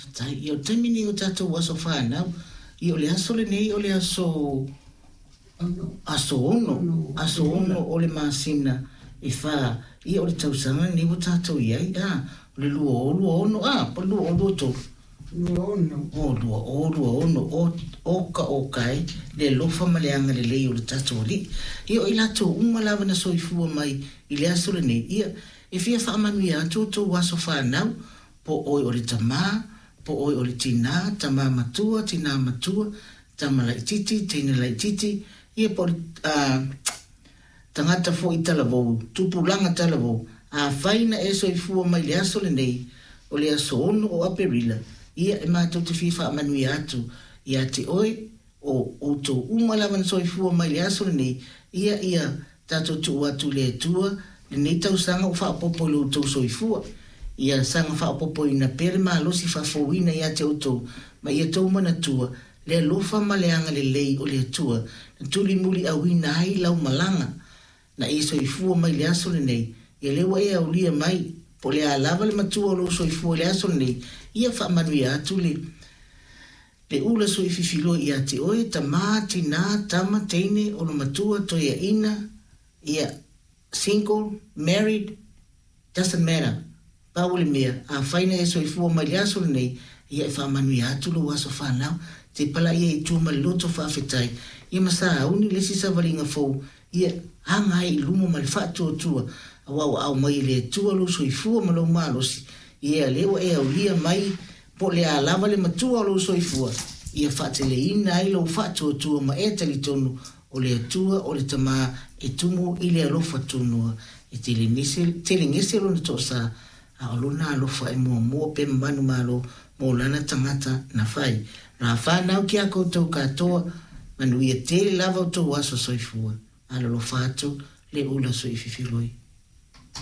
Faafetai. Ia o le taimi lenei o tatou aso fanau, ia o le aso lenei o le aso aso 6, aso 6 o le masina e fa, ia o le tausaga lenei ua tatou i ai, a, o le 2026, a, po o le 2023? 26. O, 2026, o, oka oka e, le alofa ma le agalelei o le tatou Alii. Ia o i latou uma lava na soifua mai i le aso lenei, ia, e fia faamanuia atu outou aso fanau, po o oe o le tama, po o oe o le tinā, tama matua, tinā matua, tama laitiiti, teine laitiiti, ia po o le, a, tagata foi talavou, tupulaga talavou, afai na e soifua mai i le aso lenei, o le aso 6 o Aperila, ia e matou te fia faamanuia atu ia te oe, o outou uma lava na soifua mai i le aso lenei, ia ia tatou tuu atu i le Atua lenei tausaga ua faaopoopo i lo outou soifua. Ia saga faaopoopoina pea le malosi faafouina ia te outou, ma ia tou manatua le alofa ma le agalelei o le Atua na tulimuliauina ai lau malaga na e soifua mai i le aso lenei, ia lea ua e aulia mai, po o le a lava le matua o lou soifua i le aso lenei, ia faamanuia atu le Le ula suififiloa ia te oe, tama, tina, tama, teine, olomatua, toeaina, ia, single, married, doesn't matter. Pau o le mea, afai na e soifua mai le aso lenei, ia e faamanuia atu lou aso fanau, te palaia i tua ma le loto faafetai, ia ma sauni le isi savaliga fou, ia aga ai i luma ma le faatuatua, aua ua aumai e le Atua lou soifua ma lou malosi, ia lea ua e aulia mai Po o le a lava le matua o lou soifua, ia faateleina ai lou faatuatua ma e talitonu o le Atua o le Tama e tumu i le alofa tunoa, e telegese lona toasa, a o lona alofa e muamua pe manumalo mo lana tagata na fai. Ra whanau ki a koutou katoa, manuia tele lava o tou aso soifua. Alolofa atu le ula soififiloi.